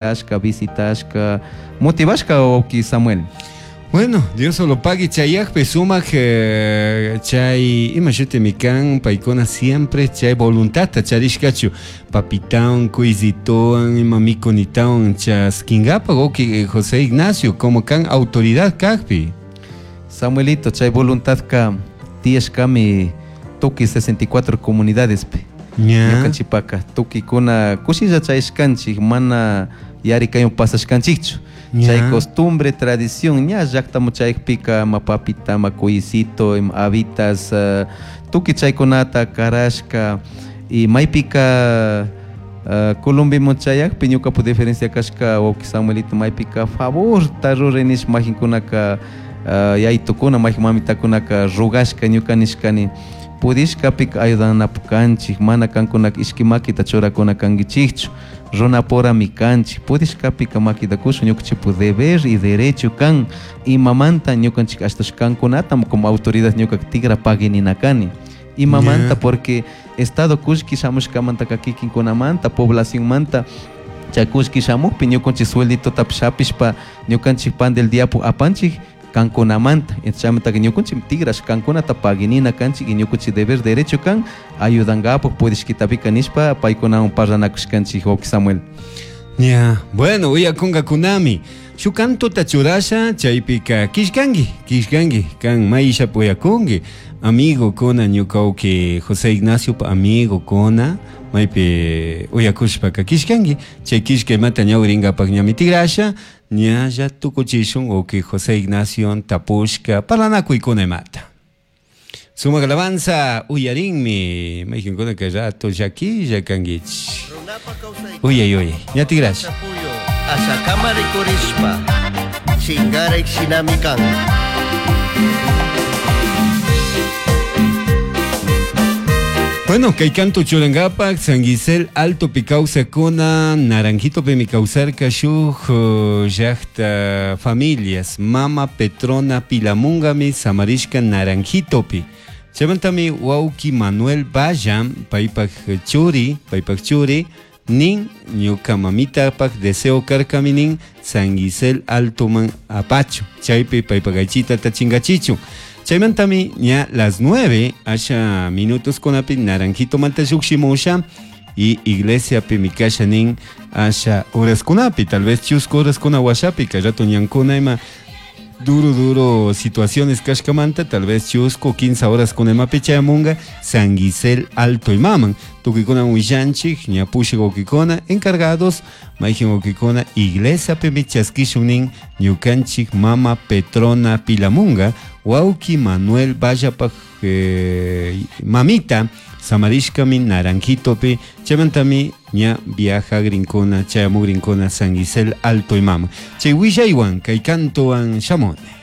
Ashka visitashka motivashka wawki Samuel. Bueno, Dios solo pague chayakpi sumak chay ima shutimi kan paykuna siempre chay voluntadta charishkachu papitawan kuyzitowan ima mikunitawan chaskingapak wawki José Ignacio como kan autoridad kakpi. Samuelito, chay voluntadka tiyashkami tukuy 64 comunidadespi. Ñukanchikpaka tukuykuna kushilla chayashkanchik mana yarikaywan pasashkanchikchu. Chay costumbre, tradición ña llaktaman chayakpika ima papita, ima cuyicito, ima habitas, tukuy chaykunata karashka y maypika Colombiaman chayakpi ñukapak diferencia kashka wawki Samuelito maypika favorta ruray nishpa makinkunaka yaytukuna mayjin mamitakunaka rogashka ñuka nishkani pudishkapika ayudanapak kanchik mana kankunaka ishki makita churakuna kankichikchu runapurami kanchik pudishkapika makita kushun ñukanchikpak deber y derecho kan imamanta ñukanchik ashtash kankunatam como autoridad ñukaka tigra paguinina kani imamanta porque estado kullki shamushkamantaka kikinkunamanta poblacionmanta chay kullki shamukpi ñukanchik suelditotapish hapishpa ñukanchik pan del diapu apanchik kankunamanta chaymantaka ñukanchik tigrash kankunata paguinina kanchik y ñukanchik deber derecho kan ayudangapak pudishkitapika nishpa paykunawan parlanakushkanchik wawki Samuel. Ña, bueno, uyakungakunami. Shuk cantota churasha chaypika killkanki, killkanki, kan mayshapi uyakunki. Amigo kuna ñuka wawki José Ignaciopa amigo kuna maypi uyakushpaka killkanki. Chay killka imata ñawirinkapak ñami tigrasha ñalla tukuchishun wawki José Ignacio tapushka parlanakuykuna imata. Sumak alabanza uyarinmi mayqinkuna kay rato llakilla kankichik. Uyay uyay ña tigrasha. Ashakama rikurishpa chingarik shinami kan. Bueno, kay canto churankapak San Gisel Altopi kawsakuna Naranjitopimi kawsarka shuk llakta familias mama Petrona Pilamungami samarishka Naranjitopi. Chaymantami wawki Manuel Valla paypak churi, paypak churi nin ñuka mamitapak deseo karkami nin San Gisel Altoman apachu chaypi paypak aychitata chingachichun. Chaymantami ña las 9 asha minutos kunapi Naranjitomanta llukshimusha y iglesiapimi kasha nin asha horaskunapi tal vez chusku horaskuna washapi kay rato ñankuna ima duro duro situaciones kashkamanta tal vez chusku 15 horas kunemapi chayamunga San Gisel Alto imaman tukuykuna willanchik ña pushak wawkikuna encargados mayjin wawkikuna iglesiapimi chaskishun nin ñukanchik mama Petrona Pilamunga wawki Manuel Vallapak mamita samarishkami Naranjitopi chaymantami ña viajagrinkuna chayamugrinkuna San Gisel Alto imaman chay willaywan kay cantowan shamuni.